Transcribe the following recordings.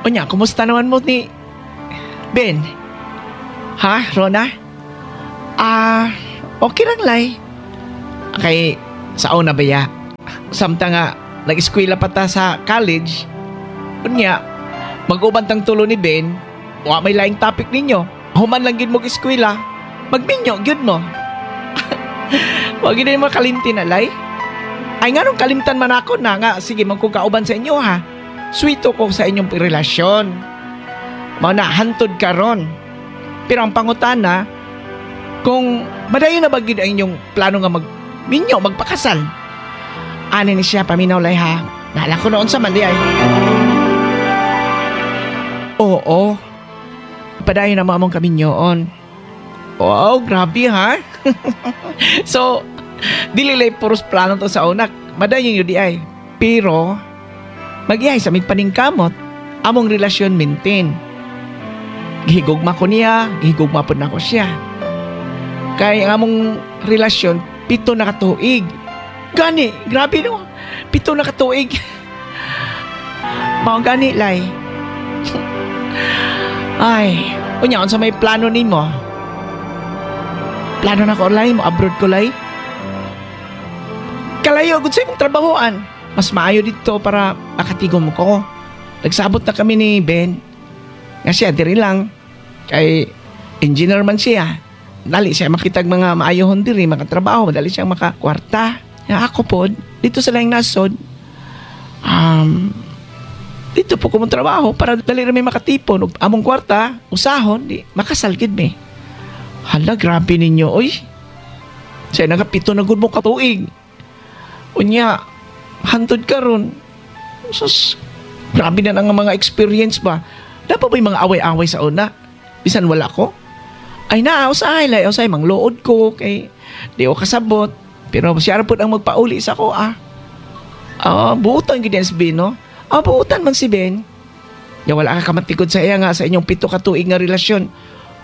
Unya, kumusta naman mo ni Ben? Ha, Rona? Ah, okay lang, lay. Kay, sa una ba ya? Samtang nga, nag-eskwela pa ta sa college, unya, mag-uban tang tulo ni Ben, wa may laing topic ninyo. Human lang gid mo eskwela, magminyo, gyud mo. Wa gid mo kalimti na, lay. Ay, nganong kalimtan man ako na nga, sige, man ko kauban sa inyo ha. Sweeto ko sa inyong relasyon. Mao na, hantod karon. Pero ang pangutana, kung madayon na ba gid ang inyong plano nga magminyo, magpakasal? Ani ni siya, paminaw, lay, ha. Nala ko noon sa man di ay. Oo. Padayon na mo among kaminyoon. Wow, grabe ha. So, dili lay puros plano to sa una. Madayon yun di ay. Pero, magihay sa mig paningkamot, among relasyon maintain. Gihigugma ko niya, gihigugma pod nako siya. Kay ang among relasyon, 7 na katuig. Gani, grabe no. 7 na katuig. Mao gani, lay. Ay, unya, unsa may plano nimo? Plano na ko, lay, mo abroad ko, lay. Kalayo gud sa imong trabahoan. Mas maayo dito para makatigom ko. Nagsabot na kami ni Ben. Nga siya diri lang kay engineer man siya. Dali siya makitag mga maayohon diri makatrabaho, dali siya makakwarta. Nga ako pod dito sa laing nasod. Dito po ko mong trabaho para dali ra may makatipon ug among kwarta usahon di makasal gid mi. Hala, grabe ninyo, oy. Siya nagapito na gud mo katuig. Unya, hantod karon. Sus, grabe na ang mga experience ba. Dapat ba yung mga away-away sa una? Bisan wala ko. Ay na, usahay lay, usahay, mangluod ko, kay di ko kasabot. Pero siya ra pod ang magpauli sa ko, ah. Ah, buutan gid yan si Ben, no? Ah, buutan man si Ben. Ya wala ka kamatikod sa iya nga sa inyong 7 ka tuig nga relasyon.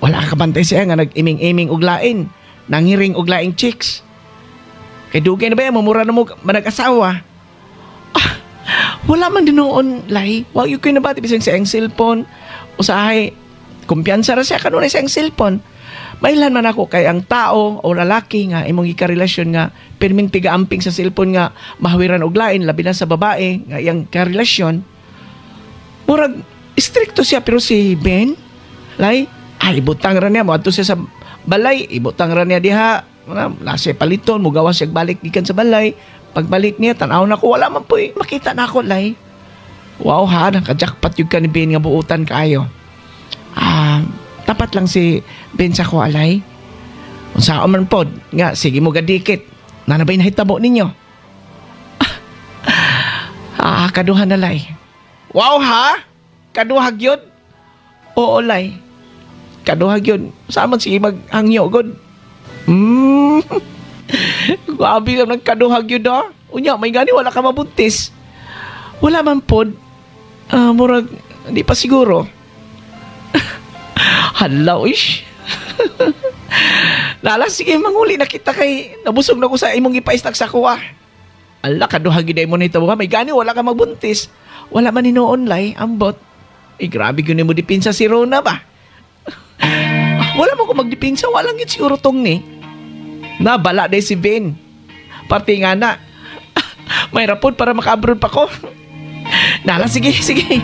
Wala ka kabantay sa iya nga nag-iming-iming og lain, nanghiring og laing chicks. Kay dugay na ba yan, mamura na mo manag-asawa. Ah, wala man din noon, lay. Wa gyud ko'y nabati bisan sa iyang cellphone. Usahay, kumpiyansa ra siya kanunay sa iyang cellphone. Mailhan man ako kay ang tao o lalaki nga imong gikarelasyon nga pirming tiga-amping sa cellphone nga mahawiran og lain, labi na sa babae nga iyang karelasyon. Murag strikto siya, pero si Ben, lay, ay ibutang ra niya moadto siya sa balay, ibutang ra niya diha. Wala na siya paliton, mugawas siya balik gikan sa balay. Pagbalik niya, tan-aw na ko, wala man po eh. Makita na ako, lay. Wow ha, naka-jackpot yung ka ni Ben nga buutan kaayo. Ah, tapat lang si Ben sa ko, alay. Unsa man pod, nga, sige mo gadikit. Nanabay nahitabo ninyo. Ah, kaduha na, lay. Wow ha? Kaduha gyud? Oo, lay. Kaduha gyud. Saan man sige maghangyo god? Grabe lang nagkaduha gyud ah. Unya, may gani wala ka mabuntis. Wala man pod. Ah, murag, hindi pa siguro. Hala, ish. Lala, sige, manguli na kita kay nabusog na ko sa imong ipaistak sa kuha. Ala, kaduha gyud mo nito. May gani wala ka magbuntis. Wala man hinuon, lay, ambot. Eh, grabe gyud mo dipinsa si Rona ba? Wala mo ko magdipinsa, walang gyud siguro tong ni. Nabala day si Ben. Parte nga na. May rapod para maka-abroad pa ko. Nala, sige, sige.